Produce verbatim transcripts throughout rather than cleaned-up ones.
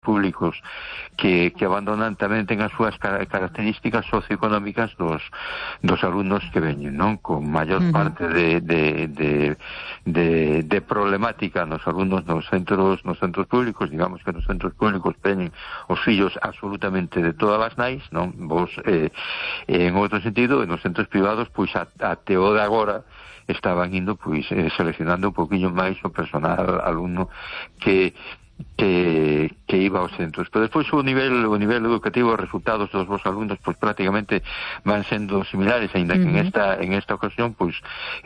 públicos que, que abandonan tamén ten as súas características socioeconómicas dos, dos alumnos que veñen, non? Con maior uh-huh. parte de, de, de, de, de problemática nos alumnos nos centros nos centros públicos, digamos que nos centros públicos veñen os fillos absolutamente de todas as nais, non? Vos, eh, en outro sentido, nos centros privados, pois a, a teo de agora estaban indo, pois, eh, seleccionando un poquinho máis o personal alumno que que, que iba aos centros, pero despois o nivel o nivel educativo, os resultados dos vos alumnos pois prácticamente van sendo similares, aínda que uh-huh. en esta en esta ocasión pois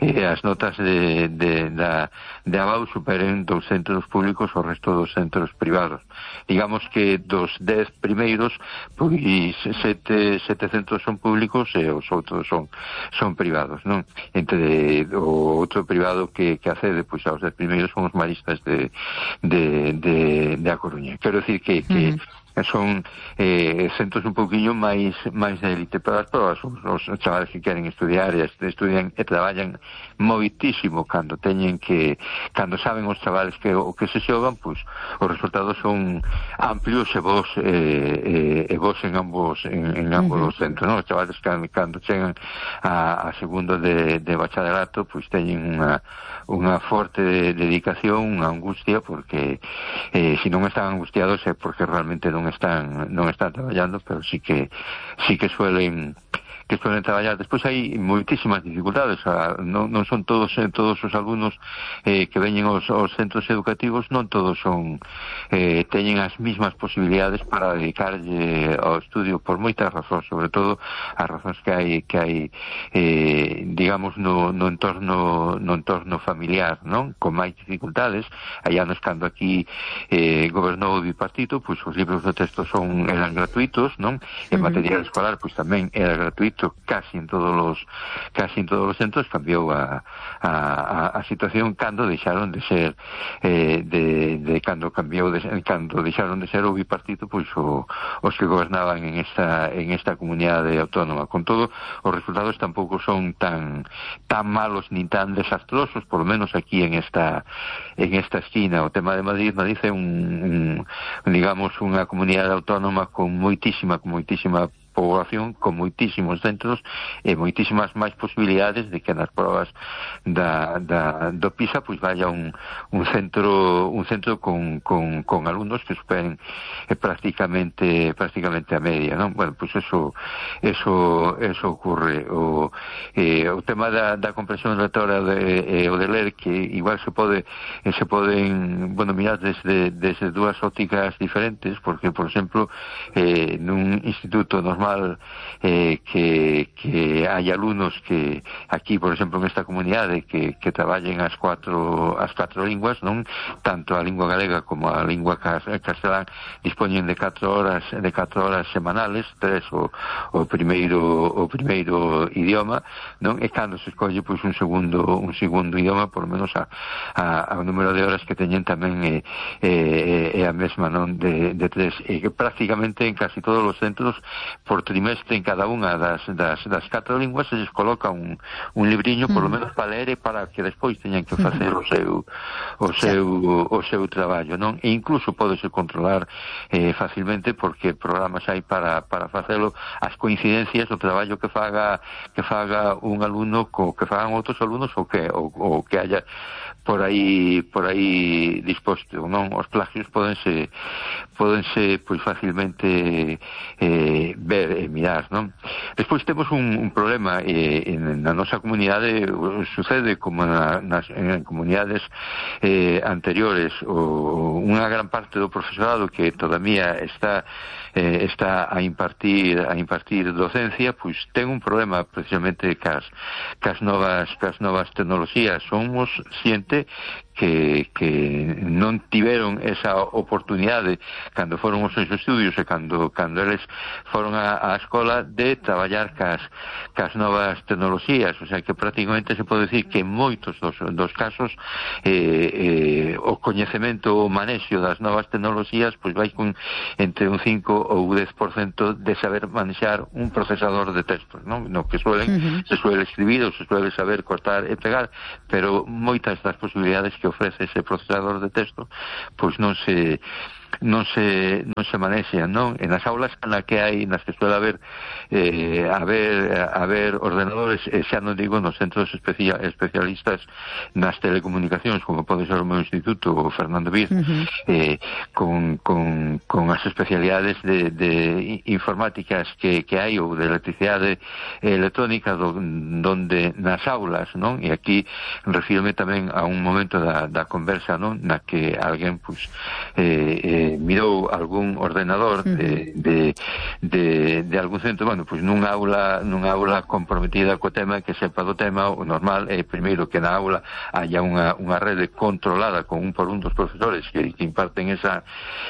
eh, as notas de, de, da, de abaixo superen dos centros públicos o resto dos centros privados. Digamos que dos dez primeiros pois sete, sete centros son públicos e os outros son son privados, non? Entre o outro privado que, que accede pois aos dez primeiros son os maristas de, de, de de A Coruña. Quero decir que, que uh-huh. son eh, centros un pouquinho máis máis de élite para as probas. Os, os chavales que queren estudiar e estudian e traballan moitísimo cando teñen que cando saben os chavales que o que se xogan, pois os resultados son amplios e vos eh, e vos en ambos en, en ambos uh-huh. os centros, non? Os chavales cando, cando chegan a, a segundo de, de bachillerato, pois teñen unha unha forte dedicación, unha angustia, porque eh, se non están angustiados é porque realmente non están non están traballando, pero sí que sí que suelen que suelen traballar. Despois hai moitísimas dificultades, a, non, non son todos eh, todos os alumnos eh, que veñen aos, aos centros educativos, non todos son eh, teñen as mismas posibilidades para dedicarlle ao estudio por moitas razóns, sobre todo as razóns que hai que hai eh, digamos no, no entorno no entorno familiar, non? Con máis dificultades. Hai anos cando aquí eh, gobernou o bipartito, pois os libros de texto son eran gratuitos, non? E o material escolar pois tamén era gratuito casi en todos los casi en todos os centros. Cambiou a, a, a situación cando deixaron de ser eh, de, de cando cambiou de, cando deixaron de ser o bipartito, pois o, os que gobernaban en esta en esta comunidade autónoma. Con todo, os resultados tampouco son tan tan malos ni tan desastrosos, por lo menos aquí en esta en esta esquina. O tema de Madrid, Madrid é un, un digamos unha comunidade autónoma con moitísima con moitísima poboación, con moitísimos centros e moitísimas máis posibilidades de que nas probas da, da, do PISA pois vaya un, un centro un centro con, con, con alumnos que superen eh, prácticamente prácticamente a media, non? Bueno, pois eso eso eso ocurre. O, eh, o tema da, da comprensión lectora de, eh, o de ler, que igual se pode eh, se poden, bueno, mirar desde, desde dúas ópticas diferentes, porque, por exemplo, eh, nun instituto normal Eh, que, que hai alumnos que aquí, por exemplo, en esta comunidade que, que traballen as cuatro as cuatro linguas, non? Tanto a lingua galega como a lingua castelán dispoñen de catro horas de catro horas semanales, tres o, o primeiro o primeiro idioma, non? E cando se escolle pois un segundo un segundo idioma, por lo menos a, a, a o número de horas que teñen tamén é, é, é a mesma, non? De, de tres, e que prácticamente en casi todos os centros por trimestre en cada unha das, das, das catro linguas se les coloca un, un libriño, por lo menos para ler e para que despois teñan que facer o seu o seu, o seu traballo, non? E incluso podese controlar eh, facilmente, porque programas hai para, para facelo, as coincidencias do traballo que faga que faga un alumno co que fagan outros alumnos, ou que, ou, ou que haya por aí por aí disposto, non? Os plagios pódense pódense pois facilmente eh, ver e mirar, non? Despois temos un, un problema eh, en, na nosa comunidade. Sucede como na, nas en comunidades eh, anteriores, o, unha gran parte do profesorado que todavía está eh, está a impartir a impartir docencia, pois ten un problema precisamente cas, cas novas cas novas tecnoloxías. Somos xente que, que non tiveron esa oportunidade cando foron os seus estudios e cando, cando eles foron a, a escola de traballar cas, cas novas tecnoloxías. O sea que prácticamente se pode decir que en moitos dos, dos casos eh, eh, o coñecemento, o manexo das novas tecnoloxías pois vai con entre un cinco ou dez por cento de saber manexar un procesador de textos, non? No que suelen, uh-huh. se suele escribir ou se suele saber cortar e pegar, pero moitas das posibilidades que ofrece ese procesador de texto pois non se non se non se manexan, non? En as aulas na que hai, nas que suele haber eh, haber haber ordenadores, eh, xa non digo nos centros especia, especialistas nas telecomunicacións, como pode ser o meu instituto, o Fernando Bir, uh-huh. eh, con, con, con as especialidades de, de informáticas que, que hai, ou de electricidade electrónica, do, donde nas aulas, non? E aquí refírome tamén a un momento da, da conversa, non? Na que alguén, pues, eh, eh, mirou algún ordenador de, de, de, de algún centro, bueno, pois nunha aula nunha aula comprometida co tema, que sepa do tema, o normal é primeiro que na aula haya unha, unha rede controlada con un por un dos profesores que, que imparten esa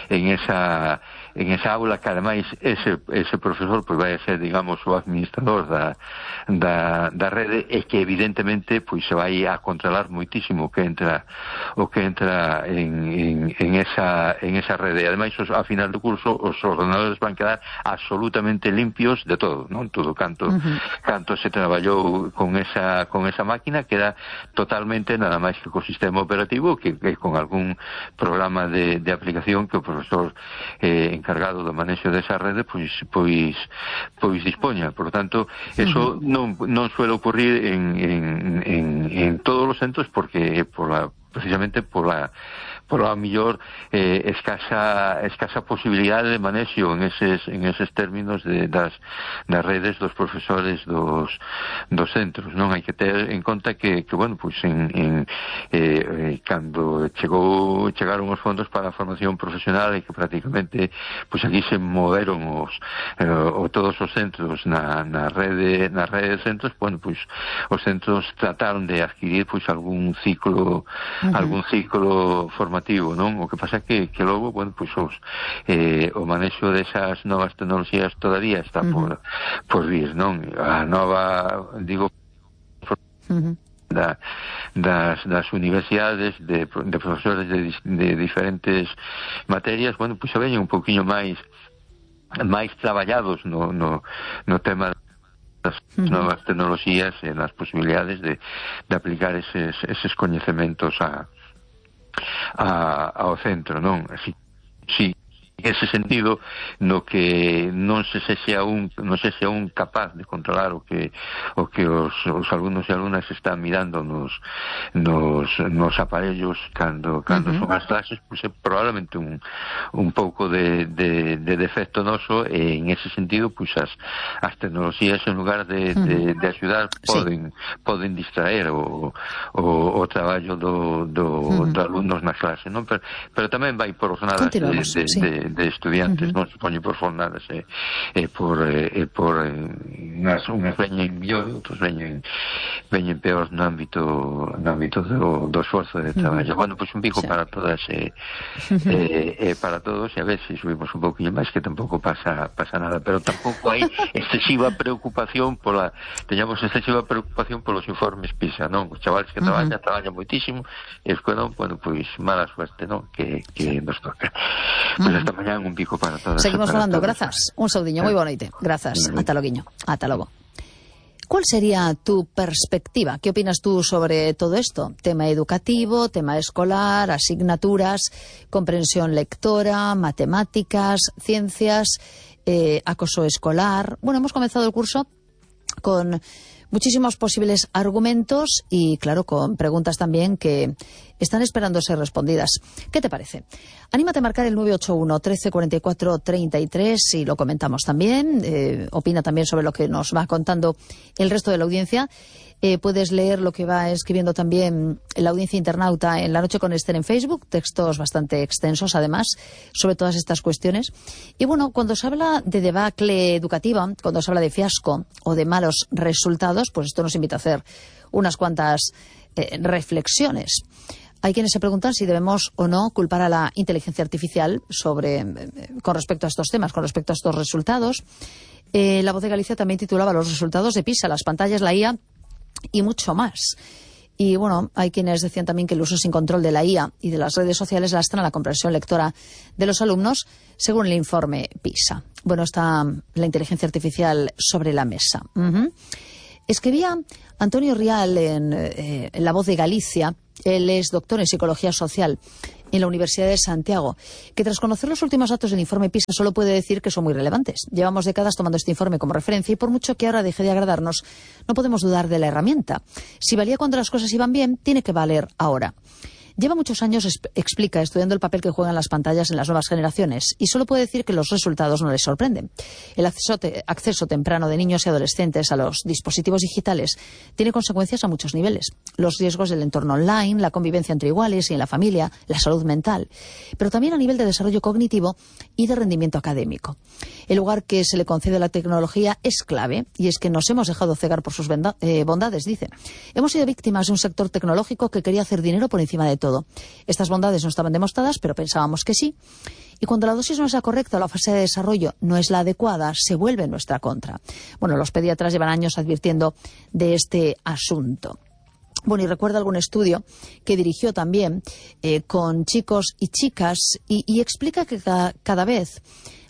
en esa en esa aula, que ademais ese, ese profesor pois vai a ser, digamos, o administrador da, da, da rede, e que evidentemente pois se vai a controlar moitísimo o que entra o que entra en, en, en esa en esa rede. E ademais, a final do curso os ordenadores van quedar absolutamente limpios de todo, non? Todo canto uh-huh. canto se traballou con esa con esa máquina queda totalmente nada máis que co sistema operativo, que, que con algún programa de, de aplicación que o profesor eh, encargado do manexo desa rede pois pois pois dispoña. Por lo tanto, eso uh-huh. non non suele ocurrir en en en en todos os centros, porque por la precisamente por la por a mellor eh, escasa escasa posibilidade de manexo en eses en eses términos de das das redes dos profesores dos dos centros, non? Hai que ter en conta que que bueno, pois en en eh, cando chegou chegaron os fondos para a formación profesional, e que prácticamente pois aquí se moveron os eh, o todos os centros na na rede na rede de centros, bueno, pois os centros trataron de adquirir pois algún ciclo uh-huh. algún ciclo formativo, non? O que pasa que, que logo, bueno, pois os, eh, o manexo desas novas tecnoloxías todavía está uh-huh. por, por vir, non? A nova, digo, uh-huh. da, das, das universidades, de, de profesores de, de diferentes materias, bueno, pois se veñen un poquinho máis máis traballados no, no, no tema das uh-huh. novas tecnoloxías e nas posibilidades de, de aplicar eses, eses coñecementos a A, ao centro, non? Así, sí, en ese sentido, no que non se sexa un non se sexa un capaz de controlar o que o que os, os alumnos e alumnas están mirando nos nos, nos aparellos cando cando uh-huh. son as clases, pois é probablemente un un pouco de, de, de defecto noso, e en ese sentido, pois as as tecnoloxías, en lugar de, uh-huh. de, de axudar, poden sí. poden distraer o, o, o traballo do, do, uh-huh. do alumnos na clase, non? Pero, pero tamén vai por jornadas de, de, sí. de de estudiantes, uh-huh. non se poñe por fornadas e eh, eh, por eh, por eh, unhas, unhas veñen mellor, outros veñen veñen peor no ámbito no ámbito do, do esforzo de traballo. Uh-huh. Bueno, pois pues un pico sí. para todas e eh, eh, eh, para todos, e a ver se si subimos un pouquinho máis, que tampouco pasa pasa nada, pero tampouco hai excesiva preocupación pola teñamos excesiva preocupación polos informes PISA, non? Os chavales que traballan, uh-huh. traballan moitísimo, e os que non, bueno, pois mala suerte, non? Que, que nos toca. Pois pues hasta mañán, un pico para todas. Seguimos falando, grazas. Un saudiño, moi boa noite. Grazas. Ata loguiño. Ata logo. ¿Cuál sería tu perspectiva? ¿Qué opinas tú sobre todo esto? Tema educativo, tema escolar, asignaturas, comprensión lectora, matemáticas, ciencias, eh, acoso escolar. Bueno, hemos comenzado el curso con muchísimos posibles argumentos y, claro, con preguntas también que están esperando ser respondidas. ¿Qué te parece? Anímate a marcar el nueve ocho uno, trece, cuarenta y cuatro, treinta y tres y lo comentamos también. Eh, opina también sobre lo que nos va contando el resto de la audiencia. Eh, puedes leer lo que va escribiendo también la audiencia internauta en La Noche con Esther en Facebook, textos bastante extensos además sobre todas estas cuestiones. Y bueno, cuando se habla de debacle educativa, cuando se habla de fiasco o de malos resultados, pues esto nos invita a hacer unas cuantas eh, reflexiones. Hay quienes se preguntan si debemos o no culpar a la inteligencia artificial sobre, eh, con respecto a estos temas, con respecto a estos resultados. Eh, La Voz de Galicia también titulaba los resultados de PISA, las pantallas, la I A y mucho más. Y bueno, hay quienes decían también que el uso sin control de la I A y de las redes sociales lastran la comprensión lectora de los alumnos, según el informe PISA. Bueno, está la inteligencia artificial sobre la mesa. Uh-huh. Escribía Antonio Rial en, eh, en La Voz de Galicia. Él es doctor en psicología social en la Universidad de Santiago, que tras conocer los últimos datos del informe PISA solo puede decir que son muy relevantes. Llevamos décadas tomando este informe como referencia y por mucho que ahora deje de agradarnos, no podemos dudar de la herramienta. Si valía cuando las cosas iban bien, tiene que valer ahora. Lleva muchos años, explica, estudiando el papel que juegan las pantallas en las nuevas generaciones y solo puede decir que los resultados no les sorprenden. El acceso, te, acceso temprano de niños y adolescentes a los dispositivos digitales tiene consecuencias a muchos niveles. Los riesgos del entorno online, la convivencia entre iguales y en la familia, la salud mental, pero también a nivel de desarrollo cognitivo y de rendimiento académico. El lugar que se le concede a la tecnología es clave y es que nos hemos dejado cegar por sus eh, bondades, dice. Hemos sido víctimas de un sector tecnológico que quería hacer dinero por encima de todo. Todo. Estas bondades no estaban demostradas, pero pensábamos que sí. Y cuando la dosis no es la correcta o la fase de desarrollo no es la adecuada, se vuelve en nuestra contra. Bueno, los pediatras llevan años advirtiendo de este asunto. Bueno, y recuerda algún estudio que dirigió también eh, con chicos y chicas y, y explica que cada, cada vez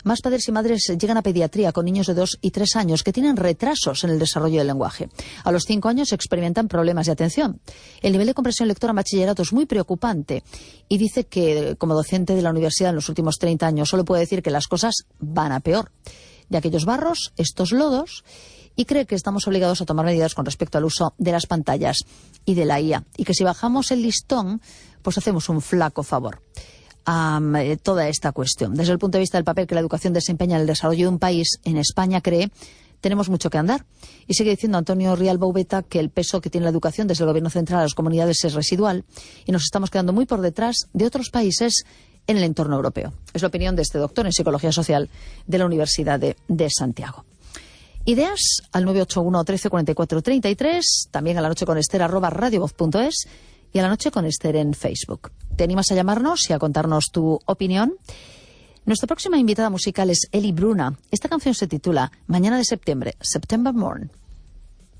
más padres y madres llegan a pediatría con niños de dos y tres años que tienen retrasos en el desarrollo del lenguaje. A los cinco años experimentan problemas de atención. El nivel de comprensión lectora en bachillerato es muy preocupante y dice que, como docente de la universidad en los últimos treinta años, solo puede decir que las cosas van a peor. De aquellos barros, estos lodos, y cree que estamos obligados a tomar medidas con respecto al uso de las pantallas y de la I A. Y que si bajamos el listón, pues hacemos un flaco favor a um, eh, toda esta cuestión. Desde el punto de vista del papel que la educación desempeña en el desarrollo de un país, en España, cree, tenemos mucho que andar. Y sigue diciendo Antonio Rial Baubeta que el peso que tiene la educación desde el gobierno central a las comunidades es residual y nos estamos quedando muy por detrás de otros países en el entorno europeo. Es la opinión de este doctor en Psicología Social de la Universidad de, de Santiago. Ideas al nueve ocho uno, trece, cuarenta y cuatro, treinta y tres, también a la noche con Esther arroba radiovoz punto es y a la noche con Esther en Facebook. ¿Te animas a llamarnos y a contarnos tu opinión? Nuestra próxima invitada musical es Eli Bruna. Esta canción se titula Mañana de septiembre, September Morn.